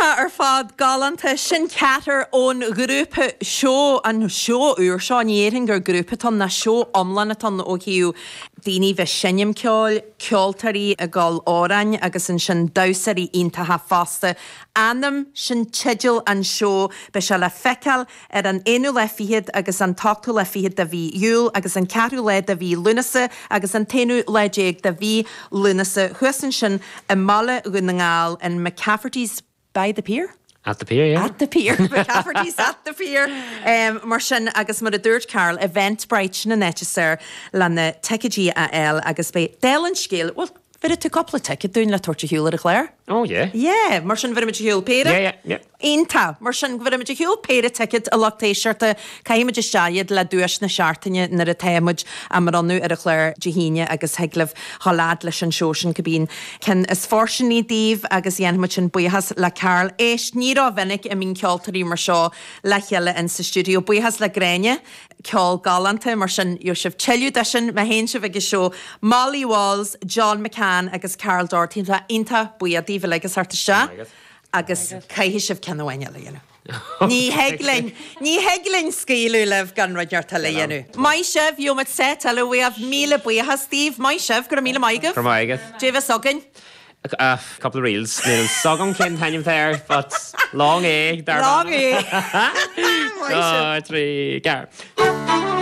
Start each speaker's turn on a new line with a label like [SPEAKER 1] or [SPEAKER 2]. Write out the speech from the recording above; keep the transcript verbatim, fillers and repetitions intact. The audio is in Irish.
[SPEAKER 1] Iontach ar fad galánta sin ceathrar ón ghrúpa seó an seó úr seo ní déarfainn gur grúpa atá ann ná seó iomlán atá ann ó thaobh daoine bheith seinm ceoil, ceoltóirí ag gabháil amhráin agus ansin damhsóirí iontacha fosta. Anam sin teideal an seó beidh sé le feiceáil ar an aonú lá fichead agus an t-ochtú lá fichead de mhí Iúil agus an ceathrú lá de mhí Lúnasa agus an t-aonú lá déag de mhí Lúnasa thuas ansin i mBaile Dhún na nGall in McCafferty's by the pier.
[SPEAKER 2] At the pier, yeah.
[SPEAKER 1] At the pier McCafferty's at the pier. Um, mar sin agus mar a dúirt Carl Eventbrite sin an áit is fearr le na ticéidí a fháil agus beidh déal an scéal, well, bhfuil tú cúpla ticket dúinn le tabhairt ar shiúl ar an chlár?
[SPEAKER 2] Oh yeah.
[SPEAKER 1] Yeah, mar sin bhfuil siúl péire?
[SPEAKER 2] Yeah, yeah, yeah.
[SPEAKER 1] Iontach, mar sin bhfuil ar shiúl péire ticket a lucht éisteachta caithfimid isteach le duais na seachtaine nuair atáimid á mbronnadh ar an chlár Dé hAoine agus thig libh dhul fhad leis an seó sin cibé ceann is fóirsteanaí daoibh agus dhéanfaimid sin buíochas le Carl. Éist ní rómhinic a mbíonn ceoltóirí mar seo le chéile in sa stiúideo. Buíochas le Gráinne ceol galánta mar sin gheobhaidh sibh tuilleadh de sin má théann sibh ag an seó Molly Walls, John McCann agus Carl Doherty tá iontach buíoch daoibh uilig as theacht isteach agus caithfidh sibh ceann amháin eile a dhéanamh. Ní thig linn ní thig linn scaoileadh libh gan rud inteacht eile a dhéanamh. Maith sibh gheobhaimid seit eile uaibh míle buíochas daoibh, maith sibh go raibh míle maith agaibh.
[SPEAKER 2] Go raibh maith agat.
[SPEAKER 1] Dé bheas againn.
[SPEAKER 2] A couple of reels Níl a fhios agam cén t-ainm air, but long é dar
[SPEAKER 1] Long é.
[SPEAKER 2] Trí ceathair.